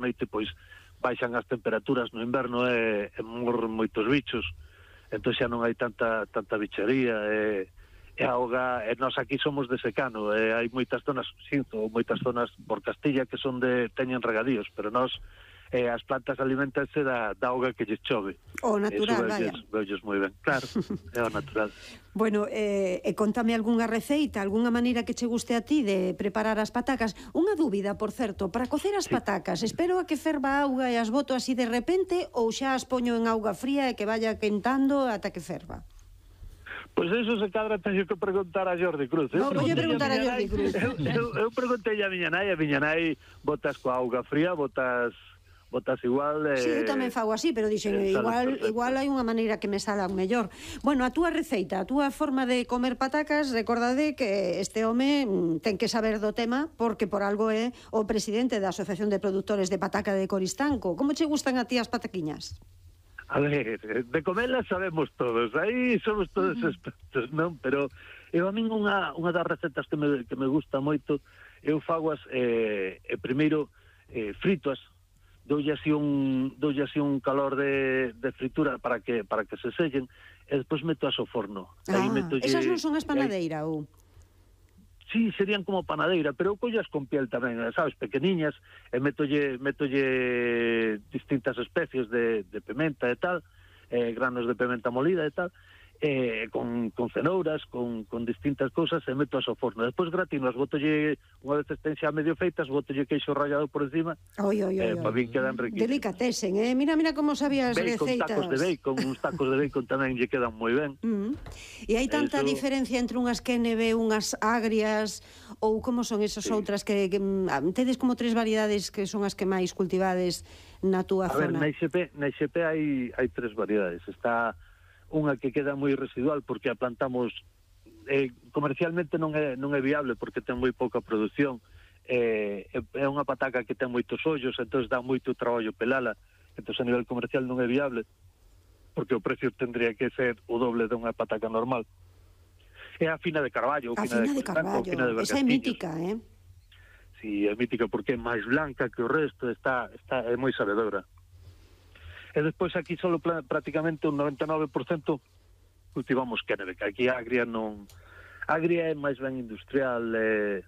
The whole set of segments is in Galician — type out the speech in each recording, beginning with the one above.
noite pois baixan as temperaturas no inverno e morren moitos bichos, entón xa non hai tanta bicharía e a auga, e nós aquí somos de secano, e hai moitas zonas, moitas zonas por Castilla que son teñen regadíos, pero nós as plantas alimentanse da auga que lles chove. O natural, vaya. Veulles moi ben, claro, é o natural. Bueno, contame algunha receita, algunha maneira que che guste a ti de preparar as patacas. Unha dúbida, por certo, para cocer as patacas, espero a que ferva a auga e as boto así de repente ou xa as poño en auga fría e que vaya quentando ata que ferva? Pois eso se cadra teño que preguntar a Jordi Cruz. Non, vou preguntar a Jordi Cruz. Eu preguntei a miña nai botas coa auga fría, botas igual... Sí, eu tamén fago así, pero dixen, igual hai unha maneira que me salan mellor. Bueno, a túa receita, a túa forma de comer patacas, recordade que este home ten que saber do tema, porque por algo é o presidente da Asociación de Produtores de Pataca de Coristanco. Como che gustan a ti as pataquiñas? A ver, de comelas sabemos todos, aí somos todos expertos, non? Pero eu a min unha das recetas que me gusta moito, eu fagoas primeiro fritoas, doulle así un calor de fritura para que se sellen, e despois meto as ao forno. Esas non son as panadeira, ou? Sí, serían como panadeira, pero eu collas con piel tamén, sabes, pequeniñas, e metolle distintas especies de pimenta e tal, granos de pimenta molida e tal, con cenouras, con distintas cousas, e meto ao forno. Despois gratinas, botolle, unha vez estén xa medio feitas, botolle queixo rallado por encima, para bien quedan riquísimas. Delicatesen, mira como sabías receitas. Uns tacos de bacon tamén lle quedan moi ben. E hai tanta diferencia entre unhas KNB, unhas agrias, ou como son esas outras que tedes como 3 variedades que son as que máis cultivades na túa zona? A ver, na IXP hai 3 variedades. Está unha que queda moi residual porque a plantamos comercialmente non é viable porque ten moi pouca produción, é unha pataca que ten moitos ollos, entón dá moito traballo pelala, entón a nivel comercial non é viable porque o precio tendría que ser o doble de unha pataca normal. É a fina de Carballo, a fina de Carballo, esa é mítica, Si, é mítica porque é máis blanca que o resto, é moi sabedora. E despois aquí só prácticamente un 99% cultivamos KNB, que aquí a agria non... Agria é máis ben industrial, e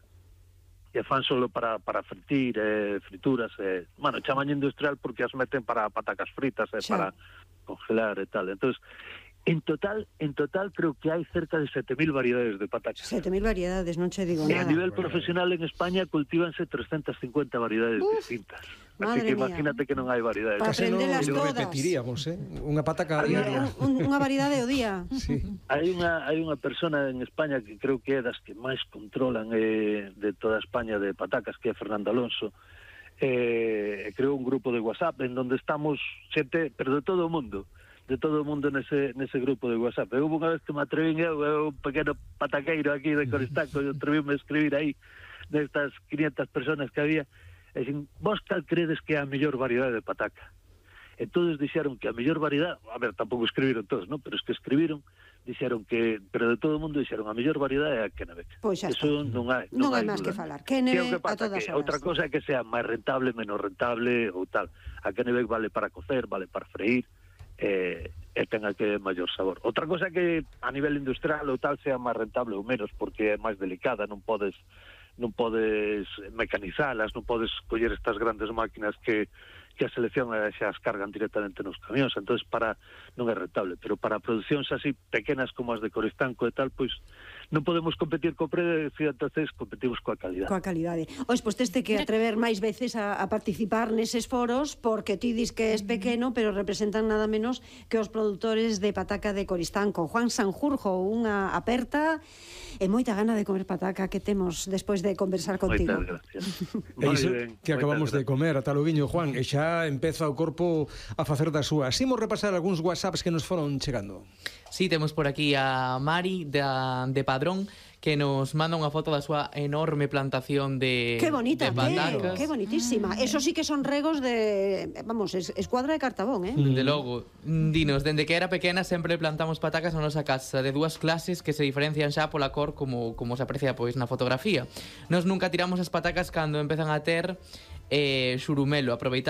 fan solo para fritir, frituras, bueno, chaman industrial porque as meten para patacas fritas, para congelar e tal. Entón, en total creo que hai cerca de 7.000 variedades de patacas. 7.000 variedades, non che digo nada. E a nivel profesional en España cultívanse 350 variedades distintas. Así que imagínate que non hai variedades. Para aprendelas todas. Repetiríamos, unha pataca diaria. Unha variedade ao día. Sí. Hai unha persona en España que creo que é das que máis controlan de toda España de patacas, que é Fernando Alonso. Creou un grupo de WhatsApp en donde estamos xente, pero de todo o mundo nese grupo de WhatsApp. Eu unha vez que me atrevín, eu un pequeno pataqueiro aquí de Coristanco, eu atrevín-me a escribir aí nestas 500 personas que había, e dixen, vos cal credes que é a mellor variedade de pataca? E todos dixeron que a mellor variedade, a ver, tampouco escribiron todos, non? Pero es que escribiron, dixeron que, pero de todo o mundo dixeron a mellor variedade é a KNB. Pois xa está. Eso non hai máis que falar. KNB a todas horas. Outra cosa é que sea máis rentable, menos rentable ou tal. A KNB vale para cocer, vale para freír, e tenga que maior sabor. Outra cosa é que a nivel industrial ou tal sea máis rentable ou menos, porque é máis delicada, non podes mecanizalas, non podes coller estas grandes máquinas que a selección xa as cargan directamente nos camións, entonces non é rentable, pero para producións así pequenas como as de Coristanco e tal, pois non podemos competir co precio, entonces competimos coa calidade. Coa calidade. Pois teste que atrever máis veces a participar neses foros, porque ti dis que és pequeno, pero representan nada menos que os produtores de pataca de Coristanco. Juan Sanjurjo, unha aperta e moita gana de comer pataca que temos despois de conversar contigo. Moitas gracias. E iso que acabamos de comer, ata loguiño, Juan, e xa empeza o corpo a facer das súas. Imos repasar algúns WhatsApps que nos foron chegando. Sí, temos por aquí a Mari de Padrón, que nos manda unha foto da súa enorme plantación de que bonita, patacas. Que bonitísima. Eso sí que son regos de, vamos, escuadra de cartabón, Dende logo. Dinos, dende que era pequena sempre plantamos patacas na nosa casa, de 2 clases que se diferencian xa pola cor como se aprecia pois na fotografía. Nos nunca tiramos as patacas cando empezan a ter xurumelo, aproveitamos